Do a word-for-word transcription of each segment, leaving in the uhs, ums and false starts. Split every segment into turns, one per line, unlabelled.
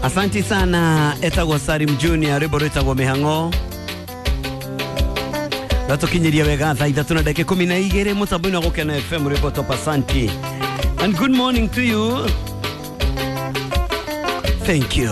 Asanti sana etagwo Salim Junior rwimbo rwitagwo mihango ratukinyiria wega thaa ithatu na ndagika ikumi na igiri mutambo-ini wa Gukena F M rwimbo top. Asanti and good morning to you. Thank you.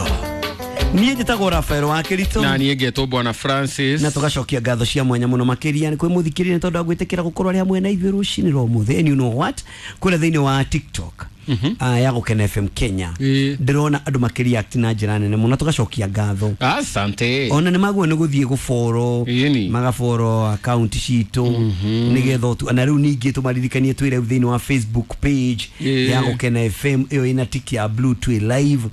Niĩ njĩtagwo Rafael wa Kirito
na niĩ ngetwo Bwana Francis,
na tugacokia ngatho cia mwanya muno makiria ni kwĩ mũthikĩrĩria nĩ tondũ wa gwĩtĩkĩra gũkorwo arĩ hamwe na ithuĩ rũcinĩ rwa ũmũthĩ. And you know what, kũrĩa thĩinĩ wa TikTok mm -hmm. uh, ya Gukena F M Kenya ndĩrona andũ makĩreact na njĩra nene mũno, tugacokia ngatho.
Asante.
Ona nĩ maguo nĩ gũthiĩ gũboro magaboro account citũ nĩgetha tu na rĩu ningĩ tũmaririkanie twĩ rĩu thĩinĩ wa Facebook page ya Gukena F M ĩyo ĩna tick ya blue twĩ live.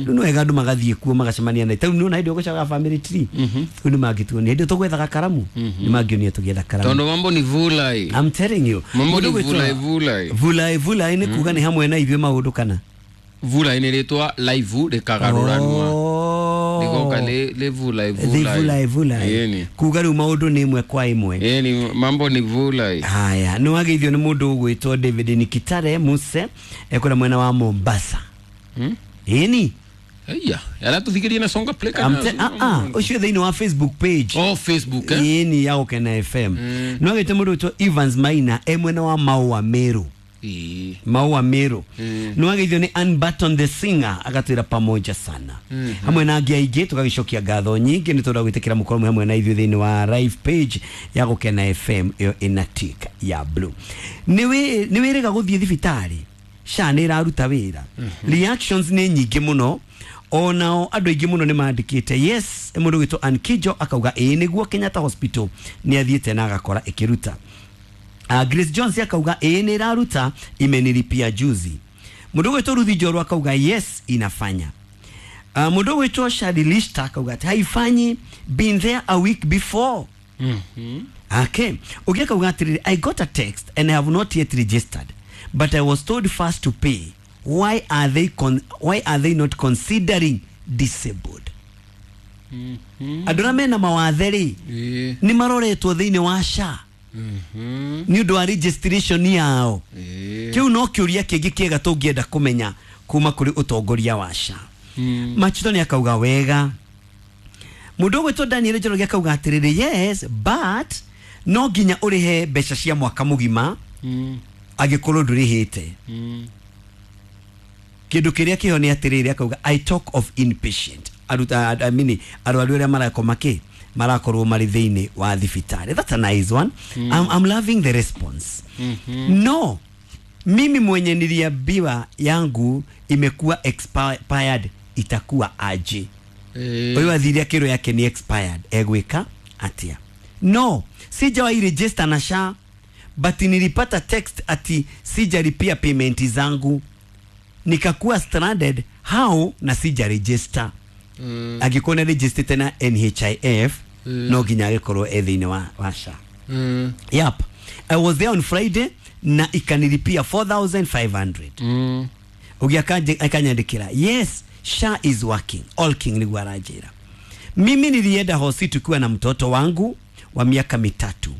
Rĩu nĩ wega andũ magathiĩ kuo magacemania na rĩu nĩwona hĩndĩ ĩyo family tree rĩu nĩ mangĩtuonia hĩndĩ ĩyo tũgwethaga karamu nĩ mangĩonia tũgĩetha karamu
tondũ mambo ni vulai.
I'm telling you,
mambo ni vulai vulai
vulai vulai nĩ kuga nĩ hamwe na ithuĩ maũndũ kana
vulai nĩ rĩtwa live rĩkagaruranwa rĩgoka nĩ vulai vulai
vulai vulai kuga rĩu maũndũ nĩ ĩmwe kwa ĩmwe.
Ĩni mambo ni vulai.
Haya, nĩ wageithio nĩ mũndũ ũgwĩtwo David Nikitare Muse ekũrĩa mwena wa Mombasa. Ĩni
Aya, aratuthikiria na Songa Play kana
ah ah ucio thĩinĩ wa Facebook page.
Oh, Facebook eh.
Ĩni ya Gukena F M. Nĩ wageithio mũndũ ũgwĩtwo Evans Maina e mwena wa Maua Meru.
E.
Maua Meru.
Mm.
Nĩ wageithio nĩ Unbutton the Singer agatwĩra pamoja sana.
Mm -hmm.
Hamwe na angĩ aingĩ tũgagĩcokia ngatho nyingĩ nĩ tondũ wa gwĩtĩkĩra mũkorwo hamwe na ithuĩ thĩinĩ wa live page ya Gukena F M ĩyo ĩna tick ya blue. Nĩ wĩ nĩ wĩrĩga gũthiĩ thibitarĩ SHA nĩ ĩraruta wĩra.
Mm -hmm.
Reactions nĩ nyingĩ mũno. Onao andũ aingĩ mũno nĩ mandĩkĩte yes. Mũndũ witũ Ankijo akauga ĩĩ nĩguo Kenyatta Hospital nĩ athiĩte na agakora ĩkĩruta. Uh, Grace Jones akauga ĩĩ nĩ ĩraruta, imenilipia juzi. Mũndũ witũ Ruthi Njorua akauga yes inafanya. Uh, mũndũ witũ Shadi Lista akauga haifanyi, been there a week before.
Mm -hmm.
Okay. Ũngĩ akauga atĩrĩrĩ, I got a text and I have not yet registered but I was told first to pay. Why are they con why are they not considering disabled?
Mm -hmm.
Andũ arĩa mena mawathe rĩ
yeah.
nĩ maroretwo thĩinĩ wa SHA.
Mm -hmm.
Nĩ ũndũ wa registration yao.
Yeah.
Kĩu no kĩũria kĩngĩ kĩega tũngĩenda kũmenya kuma kũrĩ ũtongoria wa SHA.
Mm.
Machito nĩ akauga wega. Mũndũ ũgwĩtwo Daniel Njoroge akauga atĩrĩrĩ, yes but no nginya ũrĩhe mbeca cia mwaka mũgima
mm.
angĩkorwo ndũrĩhĩte.
Mm.
Kĩndũ kĩrĩa kĩho nĩ atĩrĩrĩ akauga I talk of inpatient aruta I mean arwaru arĩa marakoma kĩ marakorwo marĩ thĩinĩ wa thibitarĩ. That's a nice one.
Mm.
I'm, I'm loving the response.
Mm -hmm.
No, mimi mwenye niliambiwa yangu imekuwa expired itakuwa aje?
Eh.
Ũyũ athire akĩrwo yake ni expired egwĩka atia? No, sijawahi register na SHA but nilipata text ati sijalipia payment zangu nikakuwa stranded how na sija register.
Mm.
Angĩkorwo nĩ register na N H I F
mm.
no nginya agĩkorwo e thĩinĩ wa, wa SHA.
Mm.
Yep. I was there on Friday na ikanilipia four thousand five hundred.
Mm.
Ũngĩ akanyandĩkĩra yes SHA is working. All king nĩguo aranjĩra. Mimi nilienda hosi tukiwa na mtoto wangu wa miaka mitatu.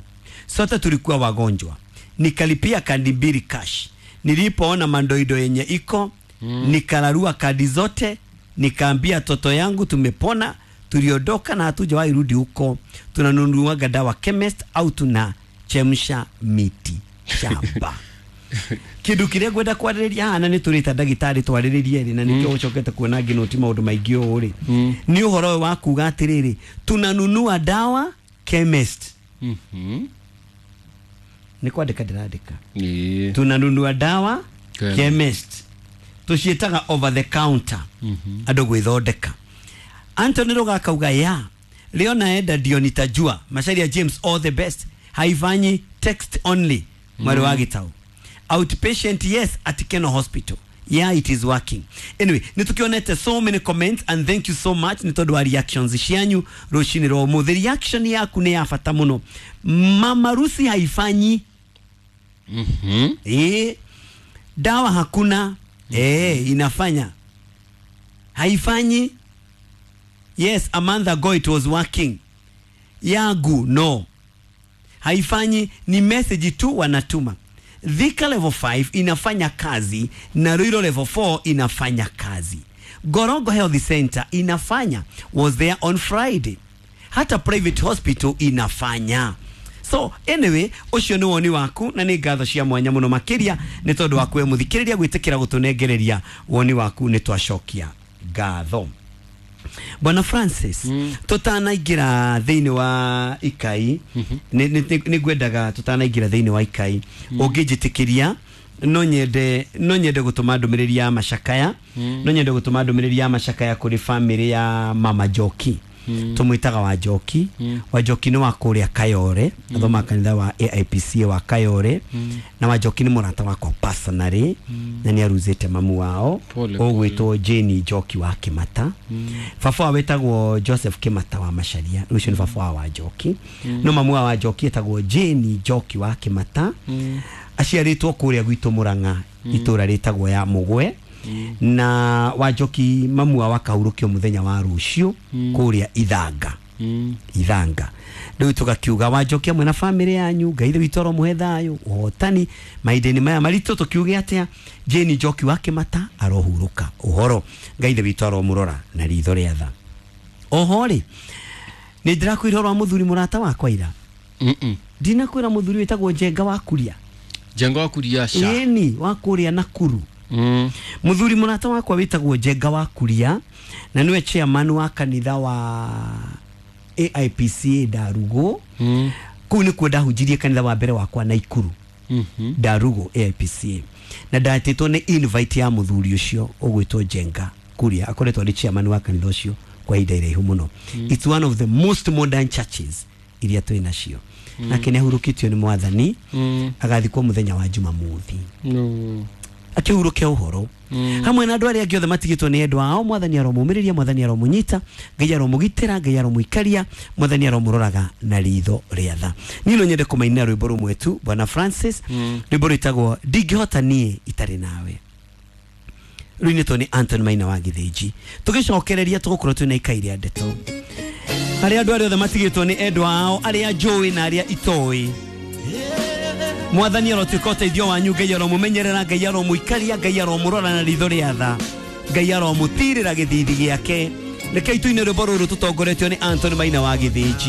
Sote tulikuwa wagonjwa. Nikalipia kadi mbili cash. Nilipoona mandoido yenye iko
mm.
nikararua kadi zote, nikaambia toto yangu tumepona, tuliondoka na hatujawahi rudi huko. Tunanunuaga dawa chemist au tunachemsha miti shamba. Kindu kiria ngwenda kwarĩrĩria haha na nĩ tũrĩta ndagĩtarĩ twarĩrĩrie rĩ na nĩkĩo ũcokete kuona ngĩnoti maũndũ maingĩ ũũ rĩ
mm.
nĩ ũhoro ũyũ wa kuga atĩrĩrĩ tunanunua dawa chemist.
Mm -hmm.
Nĩ kwandĩka ndĩrandĩka.
Yeah.
Tunanunua dawa
Chemist.
chemist tuciĩtaga over the counter.
Mm -hmm.
Andũ gwĩthondeka. Anthony Roga akauga ya leo naenda ndio nitajua. Macharia James all the best. Haifanyi text only. Mwari wa Gitau. Outpatient yes at Keno Hospital. Yeah, it is working. Anyway, nitukionete so many comments and thank you so much nĩ tondũ wa reactions cianyu rũcinĩ rwa ũmũthĩ. Reaction yaku nĩ ya bata mũno. Mama Rusi haifanyi.
Mm -hmm.
Eh, dawa hakuna.
Mm -hmm.
Eh, inafanya. Haifanyi. Yes, a month ago it was working. Yangu no. Haifanyi, ni message tu wanatuma. Thika level five inafanya kazi na Ruiru level four inafanya kazi. Gorongo Health Center inafanya, was there on Friday. Hata private hospital inafanya. So anyway, ucio ni woni waku na ni ngatho cia mwanya muno makiria ni tondu waku we muthikiriria gwitikira gutunengereria woni waku ni twacokia ngatho. Bwana Francis, mm. tutanaingira thiini wa ikai, mm -hmm. ni ngwendaga tutanaingira thiini wa ikai, mm. ungijitikiria no nyende no nyende gutuma ndumiriri ya macakaya, mm. no nyende gutuma ndumiriri ya macakaya kuri family ya Mama Njoki. Mm. Tumwitaga wa Njoki. Mm. Wa Njoki ni wa kuria Kayore, mm. athoma kanitha wa A I P C wa Kayore. Mm. Na wa Njoki ni murata wakwa personally, mm. na ni aruzite mamu wao ogwitwo Jane Njoki wa Kimata. Mm. Baba wetagwo Joseph Kimata wa Macharia, ucio ni baba wa Njoki. Mm. No mamu wa Njoki etagwo Jane Njoki wa Kimata. Mm. Aciaritwo kuria gwitu Murang'a, mm. itura ritagwo ya Mugwe. Mm. Na wa Njoki mamu wa wakahurukio muthenya wa rucio, mm. kuria Ithanga. Mm. Ithanga riu tugakiuga wa Njoki amwe na family yanyu Ngai ithe witu aromuhe thayu uhotani mahinda-inĩ maya maritũ tukiuge atia Jane Njoki wa Kimata arohuruka uhoro Ngai ithe witu aromurora na ritho rĩa tha. Oho rĩ nĩ ndĩrakwĩra ũhoro wa mũthuri mũrata wakwa ira.
Mm -mm.
Ndinakwĩra mũthuri wĩtagwo Njenga wa Kuria.
Njenga wa Kuria ca.
Ĩni wa kuria Nakuru. Mm. Muthuri murata wakwa witagwo Njenga wa Kuria na niwe chairman wa kanitha wa A I P C Ndarugo. Mm. Kuu nikuo ndahunjirie kanitha wa mbere wakwa Naikuru. Mm -hmm. Ndarugo A I P C A na ndatĩtwo nĩ invite ya muthuri ucio ũgwĩtwo Njenga Kuria akoretwo arĩ chairman wa kanitha ucio kwa ihinda iraihu mũno. Mm. It's one of the most modern churches iria twĩ nacio. Mm. Nake nĩahurũkĩtio nĩ mwathani. Mm. Agathikwo muthenya wa Jumamothi.
No.
Akihuruke uhoro. Mm. Hamwe na andu aria angi othe matigitwo ni endwa ao mwathani aromumiria mwathani aromunyita Ngai aromugitira Ngai aromuikaria mwathani aromuroraga na ritho ria tha. Ni no nyende kumainira rwimbo rumwe tu Bwana Francis. Mm. Rwimbo rwitagwo ndingihota nie itari nawe, ruinitwo ni Anthony Maina wa Githinji. Tugicokereria tugukorwo twina ikai ria ndeto aria andu aria othe matigitwo ni endwa ao aria njui na aria itoi. Mwathani arotuĩka ũteithio wanyu Ngai aromumenyerera Ngai aromuikaria Ngai aromurora na ritho rĩa tha Ngai aromũtirĩra gĩthithi gĩake. Rekei tũine rwĩmbo rũrũ tũtongoretio nĩ Anthony Maina wa Githinji.